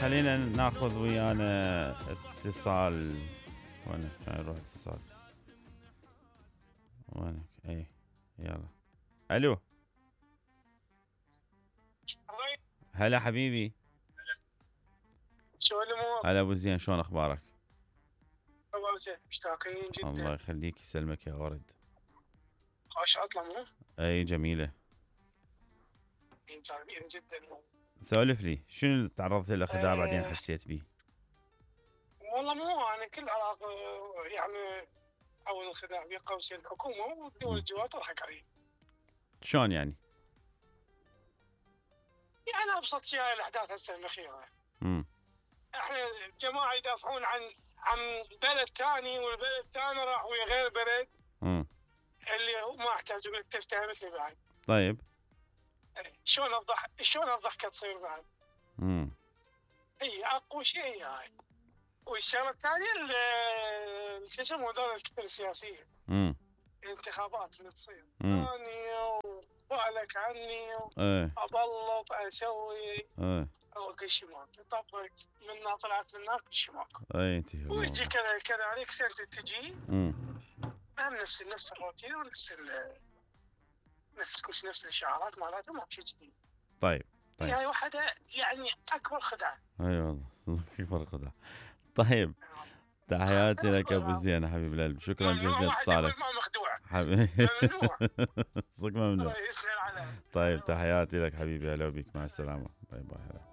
خلينا ناخذ ويانا اتصال. وينك؟ كان يروح اتصال. وينك؟ اي يلا. الو. هلا حبيبي. شو الامور؟ هلا ابو زين، شلون اخبارك؟ والله زين، مشتاقين جدا. الله يخليك، يسلمك يا ورد. خوش عطلة مو؟ اي جميلة. جميلة جدا. سولف لي، شنو اللي تعرضت له خداع بعدين حسيت بيه؟ والله مو انا كل علاقة يعني اول الخداع بين قوسين الحكومة والدول الجوار تضحك علي. شلون يعني؟ يعني ابسط شيء هاي الاحداث هسه الاخيرة. احنا جماعة يدافعون عن بلد ثاني، والبلد الثاني راح ويا غير بلد اللي هو ما احتاج انك تفتهمتني بعد. طيب شلون الضحكة تصير بعد؟ هي اقوى شيء هي هاي. والشغله الثانيه شو اسمه هذول الكتل السياسيه. الانتخابات اللي تصير اني وبالك عني ابلط اسوي كل شيء ماكو. طبعا منا طلعت منا كل شيء ماكو. انت ويجي كذا عليك سنه تجي هم نفس الروتين ونفس نفس الاشعارات مالتهم ماكو شيء جديد. طيب هاي واحده يعني اكبر خدعه. اي والله اكبر خدعه. طيب تحياتي لك ابو زين حبيب القلب، شكرا جزيلا اتصالك. ما مخدوع حبيبي ممنوع. صدق ممنوع. الله يسهل عليك. طيب تحياتي لك حبيبي، هلا بك، مع السلامه، باي باي.